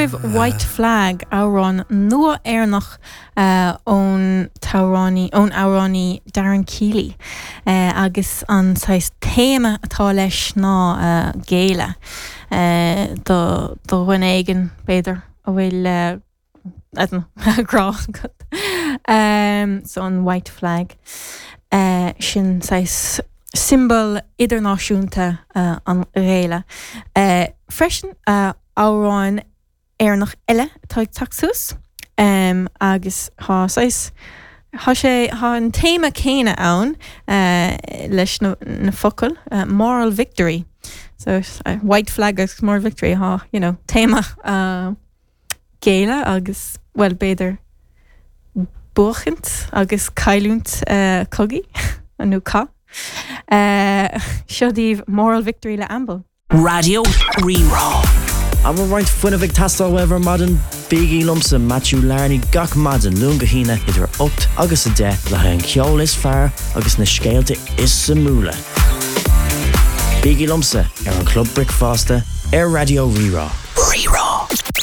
agaibh White Flag, amhrán nua Éireannach ón t-amhránaí, ón amhránaí Darren Keeley. Agus an saghas téama atá leis ná géilleadh do dhuine éigin, b'fhéidir, a bhfuil I don't know, grá agat. So an white flag, sin saghas siombail idirnáisiúnta an ghéilleadh. Freisin, amhrán Éireannach eile atá ag teacht suas agus tá saghas, tá sé, tá an téama céanna ann leis na focail, moral victory. So white flag agus moral victory, tá, you know, téama géilleadh agus, bhuel, b'fhéidir buachaint agus cailliúint cogaidh nó cath. Seo daoibh Moral Victory le Amble. Raidió Rí-Rá. An bhfuil roinnt fuinnimh ag teastáil uaibh ar maidin? Bígí liomsa, Matthew Larney, gach maidin, Luan go hAoine, idir 8 agus 10, le haghaidh an cheoil is fearr agus na scéalta is suimiúla. Bígí liomsa ar an Chlub Bricfeasta ar Raidió Rí-Rá. Rí-Rá.